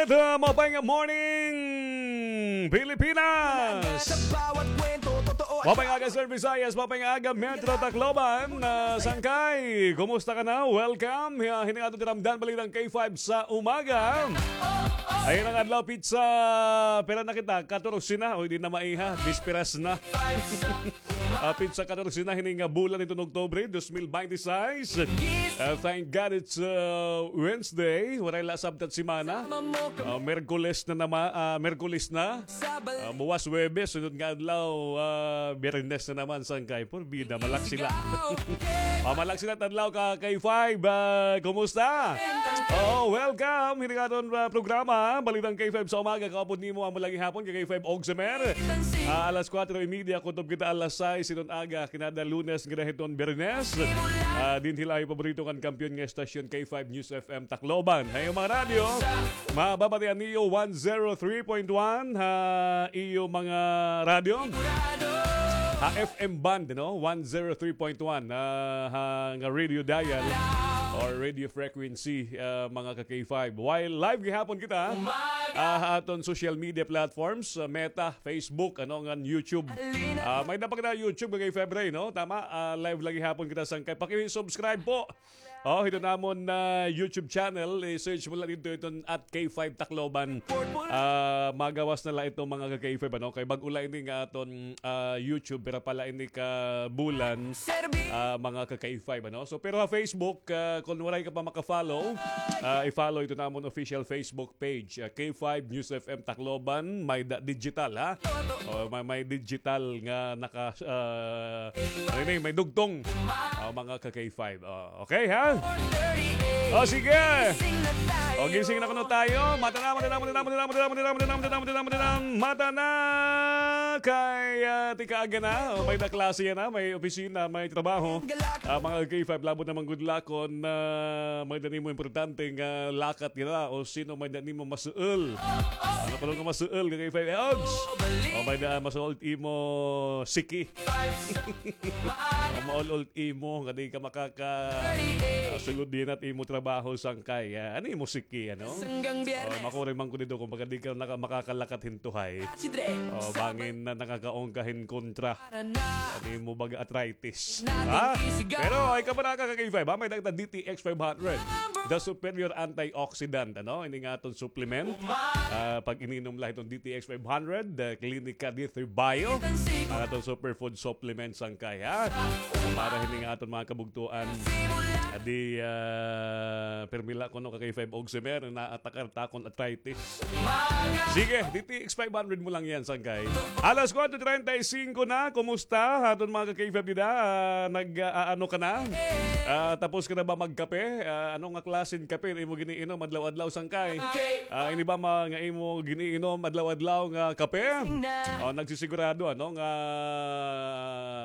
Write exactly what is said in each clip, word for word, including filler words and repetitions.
Ito, maupay nga morning, Pilipinas! Maupay nga aga, Sir Visayas, maupay nga aga, Metro Tacloban, ah, sangkay, kumusta ka na? Welcome. Hi-, hini nga aton tiramdan, Balitang K five sa umaga. Ayan an adlaw, pitsa, pira na kita? Katorse na, o, di na maiha, bisperas na. Ah, pitsa katorse na hini nga bulan hiton Oktubre, dos mil binte seis. Ah, thank God it's, ah, Wednesday. Waray la sabta semana. Ah, Miyerkules na naman, ah, Miyerkules na. Ah, buwas Huwebes, sunod nga adlaw, ah, Biyernes na naman, sangkay. Porbida, malaksi la. Ah, malaksi la it adlaw ka K five. Ah, kumusta? Oh, welcome. Hini nga aton, ah, programa, Balitang K five sa umaga. Kaupod nimo amo la gihapon ka K five Ogsemer. Ah, alas kuwatro y media, kutob kita alas sais hiton aga, kinada Lunes ngada hiton Biyernes. Ah, dinhi la ha iyo paborito ngan kampiyon nga estasyon, K five News F M Tacloban. Ha iyo mga radyo, mababatian niyo one zero three point one ha iyo mga radyo. Ha F M band, no? One zero three point one, ah, ha nga radio dial or radio frequency, ah, mga ka K five. While live gihapon kita, ah, ha aton social media platforms, ah, Meta, Facebook, ano, ngan YouTube. Ah, may-ada pa kita YouTube, K five Ray, no? Tama, ah, live la gihapon kita, sangkay. Paki-subscribe po. Oh, hiton amon nga YouTube channel, i-search mo la didto hiton at K five Tacloban. Ah, magawas na la ito, mga ka K five, ano? Kay bag-o la ini nga aton, ah, YouTube, pira pa la ini ka bulan, ah, mga ka K five, ano? So, pero ha Facebook, ah, kon waray ka pa maka-follow, ah, i-follow ito namon official Facebook page, ah, K five News F M Tacloban, may-ada digital, ha? O, may, may digital nga naka, ah, ano ini, may dugtong. Ah, mga ka K five. Oh, okay, ha? O, sige. O, gising na kuno tayo. Mata na, mata na, mata na, mata na. Mata na. Kay, ah, tikaaga na. O, may-ada klase yana, may opisina, may trabaho. Ah, mga ka K five, labot na man gud la kon, ah, may-ada nimo importante nga lakat yana o sino may-ada nimo masuol. Ano kuno nga masuol, ka K five Ogs? O may-ada masuol imo siki. O maul-ol imo nga di ka makaka, ah, sulod yana it imo trabaho, sangkay. Ah, ano imo siki, ano? O, makuray man ko didto kon baga di ka naka-, makakalakat hin tuhay. O, bangin na nakakaon ka hin kontra. Ano imo baga arthritis? Ha? Pero ay ka ba na ka K five, ha? May-ada kita D T X five hundred. The Superior Antioxidant, ano? Ini nga aton supplement. Ah, pag ininom la hiton D T X five hundred, the Clinica de Bio. Ang aton superfood supplement, sangkay, ha? Para hini nga aton mga kabugtoan. Adi, ah, permi la kuno ka K five Ogsemer, naatakar ta kon arthritis. Sige, D T X five hundred mo lang yan, sangkay. Alas kuwatro treinta y cinco na, kumusta? Aton mga ka-K five dida, ah, nag, ah, ano ka na? Ah, tapos ka na ba magkape? Ah, ano nga klase hin kape imo giniinom adlaw-adlaw, sangkay? Ah, ini ba mga imo giniinom adlaw-adlaw nga kape? O, nagsisigurado, ano, nga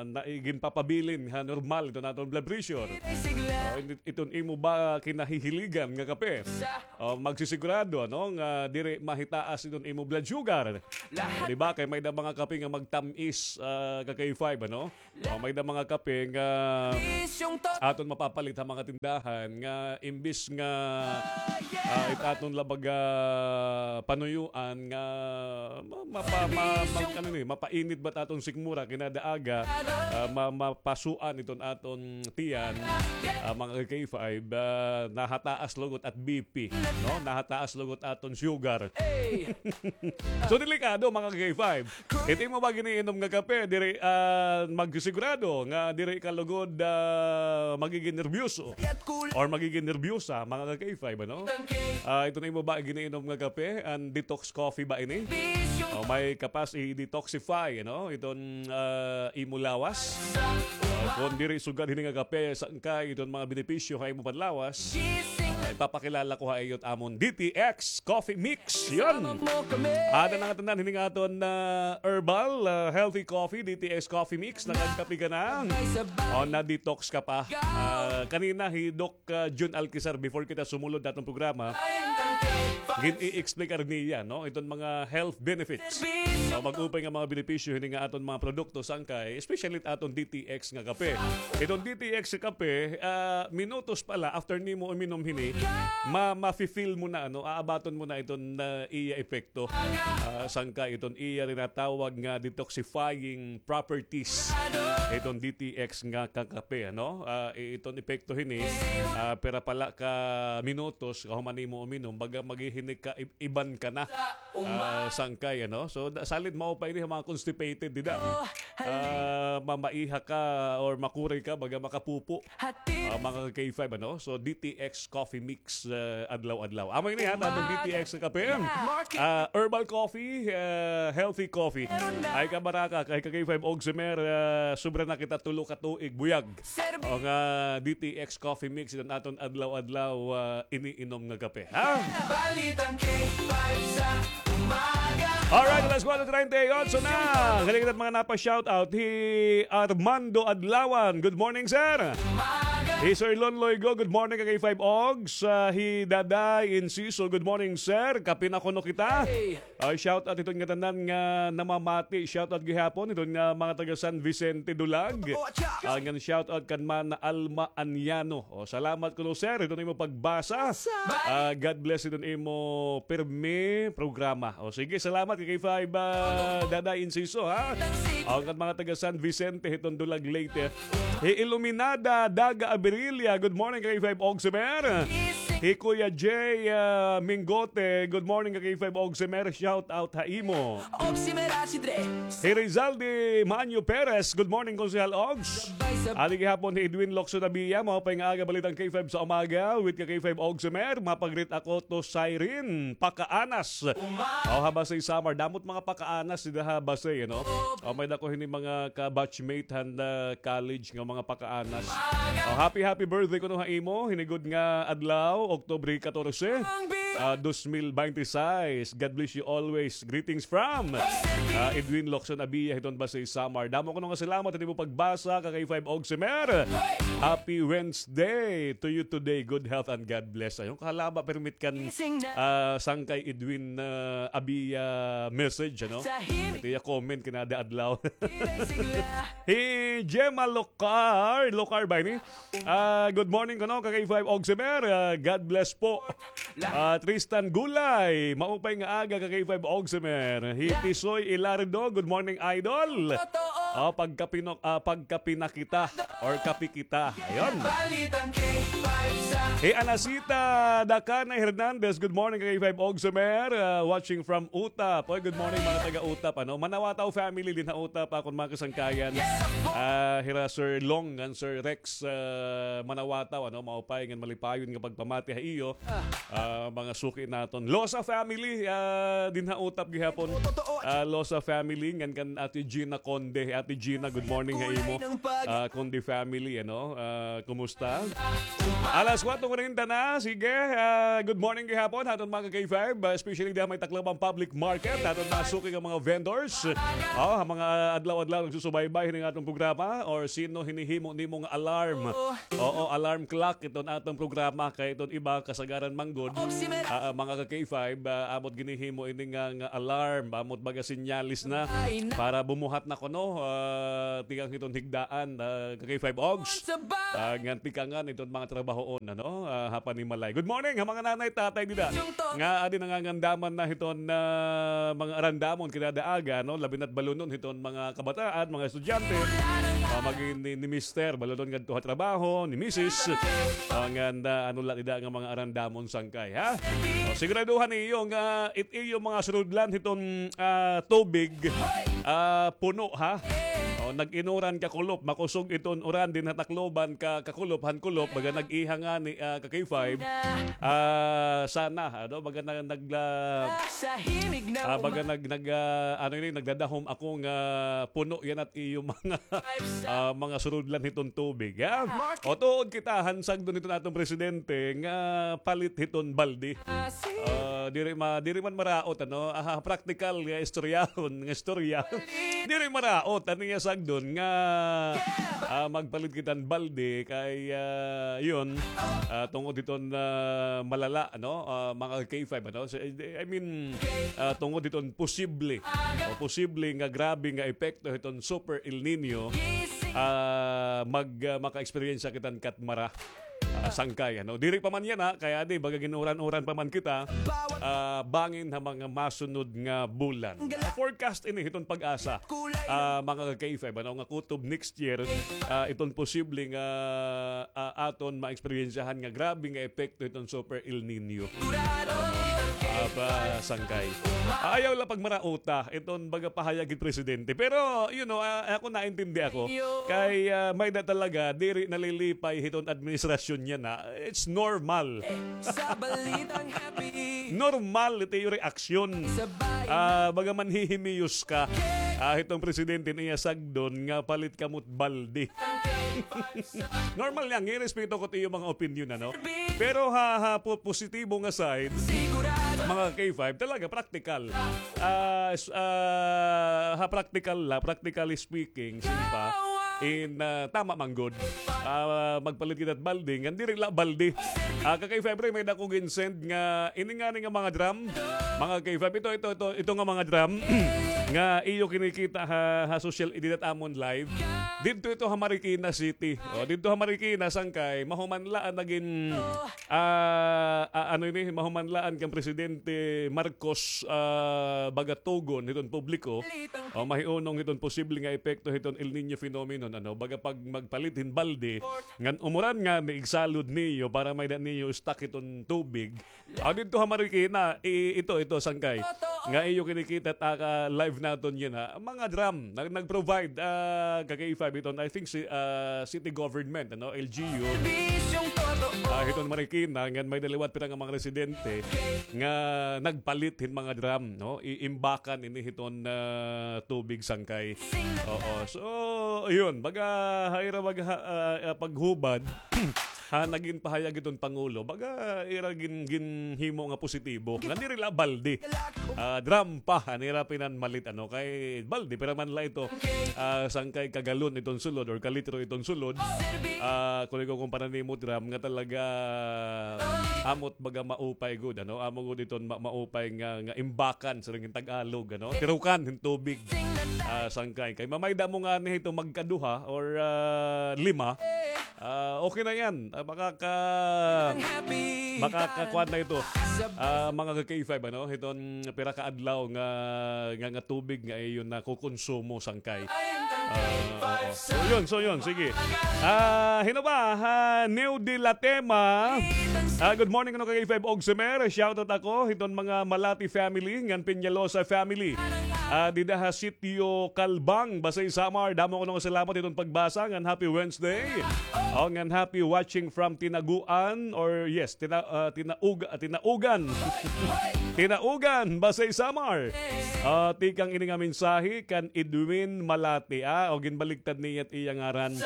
na, ginpapabilin ha normal iton aton blood pressure. O, iton imo ba kinahihiligan nga kape? O, magsisigurado, ano, nga diri mahitaas iton imo blood sugar. Di ba? Kay may-ada mga kape nga magtam-is, ah, ka K five, ano? O, may-ada mga kape nga aton mapapalit ha mga tindahan nga imbis nga, ah, it aton la baga panuyuan nga ma-, mapa-, ma-, mag-, ano ni, mapainit ba it aton sikmura kinada aga, ah, ma-, mapasuan iton aton tiyan, ah, mga ka K five, ah, nahataas lugod it B P, no? Nahataas lugod aton sugar. So, delikado, mga ka K five. It imo ba giniinom nga kape, diri, ah, magsigurado nga diri ka lugod, ah, magigin nerbiyoso or magigin nerbiyosa, mga ka K five, ano? Ah, iton imo ba giniinom nga kape, an detox coffee ba ini? O, may kapas i-detoxify, ano? Iton, ah, imo lawas. Ah, kon diri sugad hini nga kape, sangkay iton mga benepisyo ha imo panlawas. Ah, ipapakilala ko ha iyo it amon D T X Coffee Mix. Yun. Ada na nga tanan hini nga aton, ah, herbal, ah, healthy coffee, D T X Coffee Mix. Nakagkape ka na. O, na-detox ka pa. Ah, kanina, hi Doc, ah, Jun Alquizar, before kita sumulod ha aton programa, gin-i-explicar niya, no? Iton mga health benefits. So, mag-upay nga mga benepisyo hini nga aton mga produkto sangkay, especially aton D T X nga kape. Iton D T X nga kape, ah, minutos pa la after nimo uminom hini, ma-, mafe-feel mo na, ano, aabaton mo na iton, ah, iya epekto. Ah, sangkay iton iya tinatawag nga detoxifying properties. Iton D T X nga kakape, ano? Ah, i-, iton epekto hini, ah, pira pa la ka minutos kahuman nimo uminom, baga maghihinik ka, ib-, iban ka na. Ah, sangkay, ano? So, da-, salit maupay ini ha mga constipated, dida. Ah, mamaiha ka or makuray ka, baga makapupo. Ah, mga K five, ano? So, D T X Coffee Mix, ah, adlaw-adlaw. Amo ini, ha, aton D T X nga kape. Ah, herbal coffee, ah, healthy coffee. Ay, kabaraka, kay ka K five Ogsimer, ah, sobra na kita tulo ka tuig, buyag. O nga, D T X Coffee Mix, iton aton adlaw-adlaw, ah, iniinom nga kape, ha? Balitang K five sa umaga. Alright, alas kuwatro treinta y ocho na. Galing na't mga napa-shoutout. Hi Armando Adlawan. Good morning, sir. Hi Sir Lon Loigo. Good morning, ka K five Ogs. Ah, hi Daday Inciso. Good morning, sir. Kape na kuno kita. Ay, shout out hiton ngatanan nga namamati. Shout out gihapon hiton nga mga taga San Vicente Dulag. Ah, ngan shout out kan Mana Alma Anyano. O, salamat kuno, sir, hiton imo pagbasa. Ah, God bless hiton imo pirmi programa. O, sige, salamat kay K five, ah, Dada Inciso, ha. O, kan mga taga San Vicente hiton Dulag, Leyte. Hi Iluminada Daga Abirilia, good morning, ka K five Ogsimer. Hi Kuya Jay, ah, Mingote, good morning, ka K five Ogsimer. Shout out ha imo. Hi Rizaldi Manyo Perez, good morning, Konsehal Ogs. Adi gihapon hi Edwin Locson Abia, maupay nga aga, balitang K five sa umaga with ka K five Ogsimer. Mapagrit ako to Siren Pakaanas. O, ha Basey, Samar. Damo't mga pakaanas dida ha Basey, ano? O, may-ada ko hini mga ka-batchmate han, ah, college nga mga pakaanas. O, happy, happy birthday kuno ha imo. Hini gud nga adlaw, Oktubre katorse, ah, dos mil bente seis. God bless you always. Greetings from, ah, Edwin Locson Abia hiton Basey, Samar. Damo kuno nga salamat han imo pagbasa, ka K five Ogsimer. Happy Wednesday to you today. Good health and God bless. Ayon, kahalaba permit kan, ah, sangkay Edwin, ah, Abia message, ano? Ito iya comment kinada adlaw. Hi Gemma Locar, Locar ba ini? Ah, good morning kuno, ka K five Ogsimer. Ah, God bless po. Ah, Tristan Gulay, maupay nga aga, ka K five Ogsimer. Hi Tisoy Ilardo, good morning, idol. O, pagkapino-, ah, pagkapinakita or kapi kita. Ayon. Hi Anacita Dacanay Hernandez, good morning, ka K five Ogsimer. Ah, watching from Utap. Oy, good morning, mga taga Utap, ano? Manawataw family dinha Utap, akon mga kasangkayan. Ah, hira Sir Long ngan Sir Rex, ah, Manawataw, ano? Maupay ngan malipayon nga pagpamati ha iyo. Ah, mga suki naton. Losa family, ah, dinha Utap gihapon. Ah, Losa family, ngan kan Ate Gina Conde. Ate Gina, good morning ha imo. Ah, Conde family, ano? Ah, kumusta? Alas kuwatro kuwarenta na. Sige, ah, good morning gihapon ha aton mga ka K five, ah, especially diha may Tacloban Public Market, ha aton mga suki nga mga vendors. O, ha mga adlaw-adlaw nagsusubaybay hini nga aton programa or sino hinihimo nimo nga alarm. Oo, alarm clock iton aton programa kay iton iba kasagaran man gud, ah, ah, mga ka K five, ah, amo't ginhihimo ini nga, nga alarm, amo't baga senyales na para bumuhat na kuno, ah, tikang hiton higdaan, ah, ka K five Ogs. Ah, ngan tikangan iton mga trabahoon, ano, ah, ha panimalay. Good morning ha mga nanay, tatay dida nga adi nangangandaman na hiton, ah, mga arandamon kinada aga, no, labi na't balunon hiton mga kabataan, mga estudyante, ah, magin ni, ni Mister, balunon ngadto ha trabaho, ni Misis. Ah, ngan, ah, ano la dida nga mga arandamon sangkay, ha? O, siguraduhan niyo nga it iyo mga surudlan hiton, ah, tubig, ah, puno, ha? O, nag-inuran ka kulop, makusog iton uran dinha Tacloban ka, ka kulop, han kulop, baga nag-iha ngani, ah, ka K five. Ah, sana, ano, baga na, nagla-, ah, baga nag-, nag-, ah, ano ini, nagdadahom ako nga puno yana it iyo mga, ah, mga surudlan hiton tubig, ha? O, tuod kita han sagdon hiton aton presidente nga palit hiton balde. Ah, Diri ma-, diri man maraot, ano, ah, praktikal nga istoryahon, nga istorya. Diri maraot, ano nga sagdon nga, ah, magpalit kita hin balde kay, ah, yun, ah, tungod hiton, ah, malala, ano, ah, mga K five, ano. So, I mean, ah, tungod hiton posible, o posible nga grabe nga epekto hiton Super El Nino, ah, mag, ah, maka-experience kita hin katmara. Ah, sangkay, ano? Diri pa man yana, kay adi, baga gin-uran-uran pa man kita, ah, bangin ha mga masunod nga bulan. Forecast ini hiton PAGASA, ah, mga ka-K five, ano, nga kutob next year, ah, iton posible nga, ah, aton maeksperiensyahan nga grabe nga epekto hiton Super El Nino. Ah, pa sangkay. Ah, ayaw la pagmarauta iton baga pahayag hin presidente. Pero, you know, ah, ako naintindi ako. Kay, ah, may-ada talaga, diri nalilipay hiton administrasyon yana. It's normal. Sa balitang happy. Normal ito iyo reaksyon. Ah, baga manhihimiyos ka. Ah, hiton presidente niya sagdon nga palit kamo hin balde. Normal yan. Irespeto ko it iyo mga opinion, ano? Pero ha, ha po-, positibo nga side, mga K five, talaga, practical. Ah, s-, ah, ha practical la, practically speaking, simpa, in, ah, tama man gud. Ah, magpalit kita hin balde, ngan diri la balde. Ah, ka-K five, may-ada ko gin-send nga, ini ngani nga mga drum, mga K five, ito, ito, ito, ito nga mga drum, nga iyo kinikita ha, ha social, dida ha amon live. Didto ito ha Marikina City. O, didto ha Marikina, sangkay, mahuman la an nagin, ah, ah, ano ini, mahuman la an kan Presidente Marcos, ah, baga tugon hiton publiko. O, mahiunong hiton posible nga epekto hiton El Niño phenomenon, ano, baga pag magpalit hin balde, ngan umuran ngani, igsalod niyo para may-ada niyo stock hiton tubig. Ah, didto ha Marikina, i-, ito, ito, sangkay. Nga iyo kinikita ha live naton yana. Mga drum, nag-, nag-provide, ah, ka-K five iton, I think, si, ah, city government, ano, L G U. Ah, hiton Marikina, ngan may-ada liwat pira nga mga residente nga nagpalit hin mga drum, no? I-, imbakan ini hiton, ah, tubig, sangkay. Oo. So, ayun, baga, ha ira, baga, ha, ah, ah, paghubad, ha, nagin pahayag iton Pangulo, baga ira gin-, ginhimo nga positibo. Nga diri la balde. Ah, drum pa, an ira pinanmalit, ano, kay balde, pira man la ito, ah, sangkay kagalon iton sulod or kalitro iton sulod. Ah, kon ikakumpara nimo drum nga talaga, amo it baga maupay gud, ano, amo gud iton ma-, maupay nga, nga imbakan, siring hin Tagalog, ano, tirukan hin tubig. Ah, sangkay. Kay mamayda mo ngani hito magkaduha or, ah, lima. Ah, okay na yan. Ah, makaka-, makakakuan na ito. Ah, mga ka-K five, ano? Hiton pira ka adlaw nga, nga, nga tubig nga iyo nakukonsumo, sangkay. Ah, oo. So, yun, so, yun. Sige. Ah, hino ba? Ha, Neo de la Tema. Ah, good morning, ano, ka-K five og Semer. Shoutout ako hiton mga Malati family, ngan Peñalosa family. Ah, dida ha Sitio Kalbang, Basey, Samar. Damo kuno nga salamat iton pagbasa, ngan happy Wednesday. O, ngan happy watching from Tinaguan, or yes, Tina-, ah, Tinauga-, ah, Tinaugan. Tinaugan, Basey, Samar. Ah, tikang ini nga mensahe kan Edwin Malati, ah, o ginbaliktad niya it iya ngaran.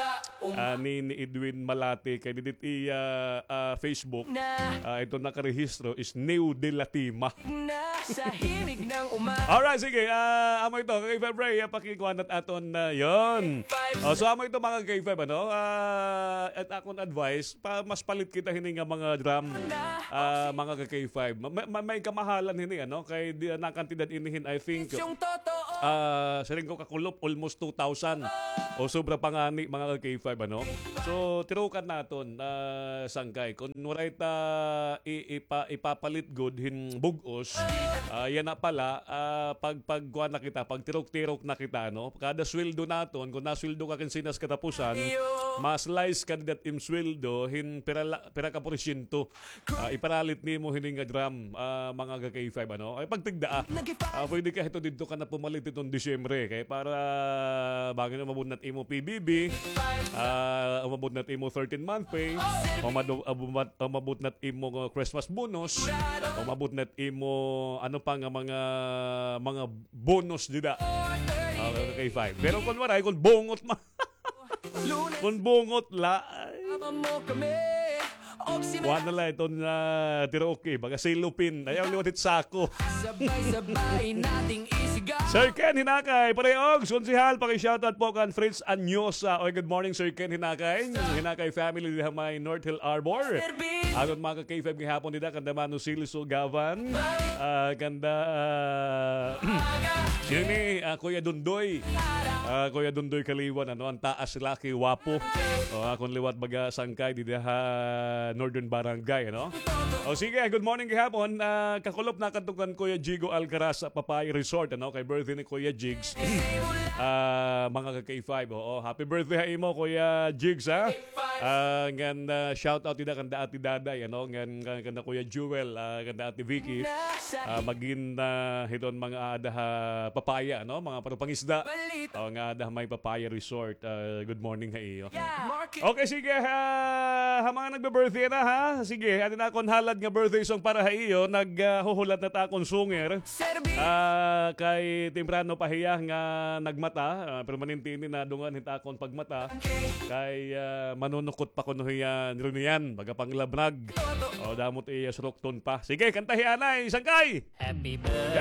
Ah, ni, ni Edwin Malati, kay didi it iya, ah, Facebook. Ah, ito nakarehistro is Neo de la Tema. Alright, sige. Ah, amo ito. Kay February, ah, pakikuha na aton na yon. O, so, amo ito, mga ka-K five, ano? Ah, at akon advice, pa, mas palit kita hini nga mga drum, ah, mga ka-K five. Ma-, ma-, may kamahalan hini, ano? Kay di, nakantidad inihin, I think, ah, siring ko kakulop, almost two thousand. O sobra pa ngani, mga ka-K five, ano? So, tirukan naton, ah, sangkay. Kon waray ta i-, ipa-, ipapalit gud hin bug-os, ah, yana pala, ah, pag, pagkuan na kita, pagtirok-tirok na kita, no? Kada sweldo naton, kon nasweldo ka kinsinas katapusan, ma-slice ka dida it im sweldo hin pira la-, pira ka porsyento. Ah, iparalit nimo hini nga drum, ah, mga ka-K five, ano? Ay, pagtigda, ah. Ah, pwede ka hito didto ka na pumalit hiton Disyembre, kay para bangin umabot na it imo P B B, ah, umabot na it imo thirteen-month pay, umado-, abumat-, umabot na it imo, uh, Christmas bonus, umabot na it imo, ano pa nga mga, mga bonus dida. Ah, ka-K five. Pero kon waray, kon bungot ma-, kon bungot la, ay. Kuan na la iton, ah, tiroke, baga cellophane. Ayaw liwat it sako. Sabay-sabay nating isigaw. Sir Ken Hinakay, pareho, konsehal, paki-shoutout po kan Fritz Anyosa. Oy, good morning, Sir Ken Hinakay. Hinakay family diha may North Hill Arbor. Aton mga ka-K five gihapon dida, kanda Mano Silso Gavan. Ah, kanda, ah, yun eh, ah, Kuya Dundoy. Ah, Kuya Dundoy Kaliwan, ano, ang taas laki, wapo. O, akon liwat baga sangkay dida ha Northern Barangay, ano? O, sige, good morning gihapon. Ah, kakulop na kadto kan Kuya Jigo Alcaraz sa Papaya Resort, ano? Kay birthday ni Kuya Jigs. Ah, mga ka-K five, oo. Happy birthday ha imo, Kuya Jigs, ha? Ah, ngan, ah, shout out dida kanda Ate Daday, ano? Ngan, ngan kanda Kuya Jewel, ah, kanda Ate Vicky. Ah, magin, ah, hiton mga aada ha Papaya, ano? Mga parupangisda. O, nga aada ha may Papaya Resort. Ah, good morning ha iyo. Okay, sige, ha, ha mga nagbe-birthday na, ha? Sige, atin akon halad nga birthday song para ha iyo. Nag, ah, huhulat na ta akon sunger. Ah, kay temprano pa hiya nga nagmata, ah, permanente ini nadungan hit akon pagmata. Kay, ah, manunukot pa kuno hiya nirunian, baga panglamnag. O, damo it iya surukton pa. Sige, kantahi anay, sangkay! Happy birthday.